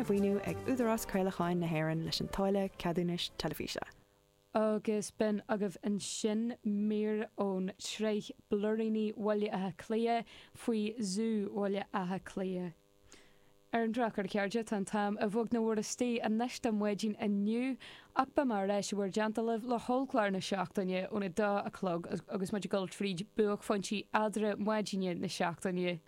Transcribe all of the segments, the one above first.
Arna mhaoiniú ag Údarás Craolacháin na hÉireann leis an táille ceadúnais teilifíse. Agus b'in agaibh ansin mír ón tsraith Blúiríní Bhaile Átha Cliath faoi Zú Bhaile Átha Cliath. Ar an drochuair, a chairde, tá an t-am i bhfad na bhur istigh anois do maidin inniu, ach beidh mé ar ais i bhur dteannta libh le hollchlár na seachtaine óna dó a chlog agus muid ag dul tríd buaicphointí eadra maidine na seachtaine.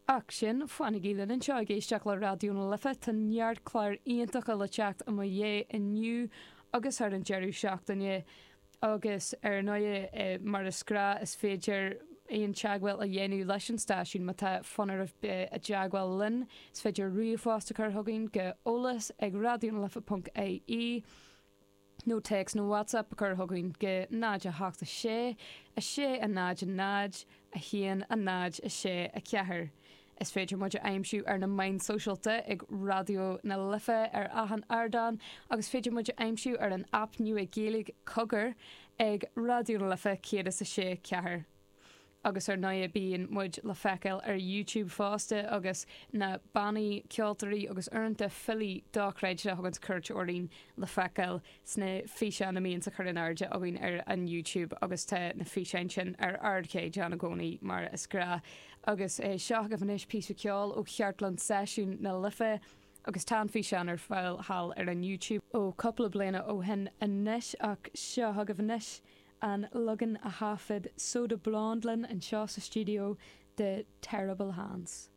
Ach sin, fanaigí linn anseo ag éisteacht le Raidió na Life, tá neart cláir iontacha le teacht i mo dhiaidh inniu agus thar an deireadh seachtaine. Agus ar ndóigh, mar is gnáth, is féidir aon teagmháil a dhéanamh leis an stáisiún má tá fonn oraibh bheith i dteagmháil linn. Is féidir ríomhphost a chur chugainn go eolas ag raidionalife ponc ie. nó téacs nó WhatsApp a chur chugainn go 0 8 6 6 0 0 1 0 6 4. Is féidir muid a aimsiú ar na meáin sóisialta ag Raidió na Life ar achan ardán agus féidir muid a aimsiú ar an aip nua Gaeilge Cogar ag Raidió na Life 106 4. Agus ar ndóigh bíonn muid le feiceáil ar YouTube fosta agus na bannaí, ceoltóirí agus uaireanta filí dochreidte a thuganns cuairt orainn le feiceáil sna físeáin a mbíonns á chur in airde againn ar an YouTube agus tá na físeáin sin ar ardchaighdeán i gcónaí mar is gnáth. Agus seo agaibh anois píosa ceoil ó Chartlann Seisiún na Life agus tá an físeán ar fáil thall ar an YouTube ó cúpla bliana ó shin anois ach seo agaibh anois An leagan a thaifead Soda Blonde linn anseo sa stiúideo de Terrible Hands.